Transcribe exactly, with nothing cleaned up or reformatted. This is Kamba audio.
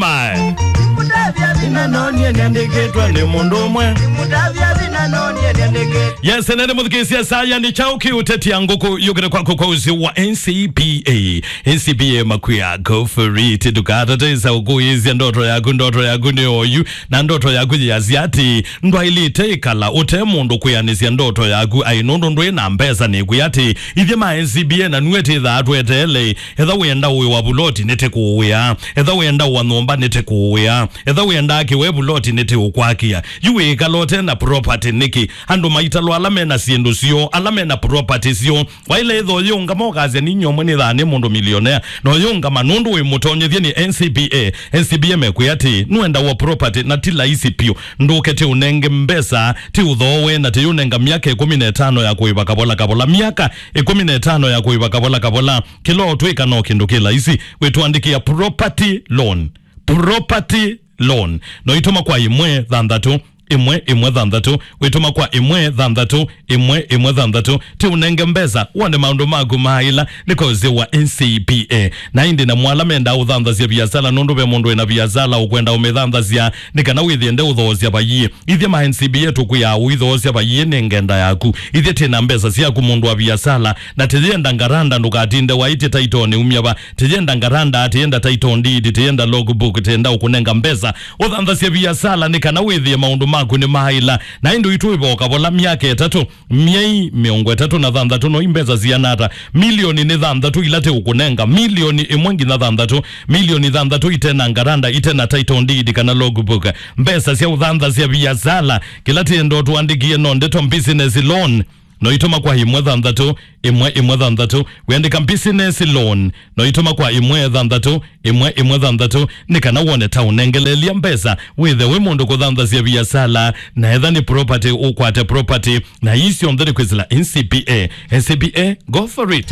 Mae. Yes, nene mũthikĩĩsya saya nĩ kyaũ kĩũtetia ngũkũ yũkĩte kwaku kwa ũsĩ wa N C B A. N C B A makwĩa, go for it. Ndũkatatĩsa ũkũĩsya ndoto yaku, ndoto yaku nĩ oyu, na ndoto yaku yĩasya atĩ ndwaĩlĩte ĩkala ũte mũndũ kwĩanĩsya ndoto yaku. Aĩ nũndũ ndwĩ na mbesa, nĩkwĩa atĩ ithyĩ ma N C B A na nue tĩthaa tweteele. Etha wĩenda ũĩ wa vuloti, nĩtĩkũũĩa. Etha wĩenda wa nyũmba, nĩtĩkũũĩa. Etha wĩenda akĩwe vuloti, nĩtĩũkwakĩa. Yu wĩĩkala ũte na property nĩkĩ? Andũ maitalwa ala mena syĩndũ syoo, ala mena property syoo. Waĩle ĩtho yĩũngama ũkasya, "Ninyie ũmwe nĩthaa nĩ mũndũ millionaire." Na ũyĩũngama nũndũ wĩ mũtonyethye nĩ N C B A. N C B A mekwĩa atĩ nũenda wa property na ti laisi piũ. Ndũke ti ũnenge mbesa, ti ũthoowe, na ti ũnenga myaka ĩkũmi na ĩtano ya kũĩva kavola kavola. Myaka ĩkũmi na ĩtano ya kũĩva kavola kavola. Kĩla ũtwĩka no kĩndũ kĩ laisi, wĩtũandĩkĩa property loan. Property loan. No itũma kwa ĩmwe thanthatũ, ĩmwe, ĩmwe thanthatũ, wĩtũma kwa ĩmwe thanthatũ, ĩmwe, ĩmwe thanthatũ. Ti ũnenge mbesa, wone maũndũ maku maĩla, nĩ kozi wa N C B A. Na ĩndĩ na mwala menda ũthanthasya viasala, nũndũ ve mũndũ wĩna viasala ũkwenda ũmĩthanthasya, nĩ kana wĩthĩe nde ũthoosya vayie. Ithyĩ ma N C B A tũkwĩaa ũithoosya vayie nĩ ngenda yaku. Ithyĩ twĩ na mbesa syaku mũndũ wa viasala, na tĩyenda ngaranda ndũkatinde waĩtye taitonĩ umya va. Tĩyenda ngaranda, tĩyenda title deed, tĩyenda logbook, tĩyenda ũkũnenga mbesa. Ũthanthasye viasala nĩ kana wĩthĩe maũndũ maku nĩ maĩla. Na ĩndĩ ũitũ ĩvoka vola myaka ĩtatũ, myei mĩongo ĩtatũ na thanthatũ no imbesa siana ata? Milioni nĩ thanthatũ ila tĩũkũnenga. Milioni ĩmwe nginya thanthatũ. Milioni thanthatũ itena ngaranda, itena title deed kana logbook. Mbesa sya ũthanthasya viasala. Kĩla tĩenda ũtũandĩkie no ndeto business loan. No itũma kwa ĩmwe thanthatũ, ĩmwe ĩmwe thanthatũ. Wĩandĩka business loan. No itũma kwa ĩmwe thanthatũ, ĩmwe ĩmwe thanthatũ. Nĩ kana wone ta ũnengeleelya mbesa. Wĩthe wĩ mũndũ kũthanthasya viasala. Na etha nĩ property, ũkwate property. Na ii syonthe nĩ kwĩsĩla N C B A. N C B A, go for it.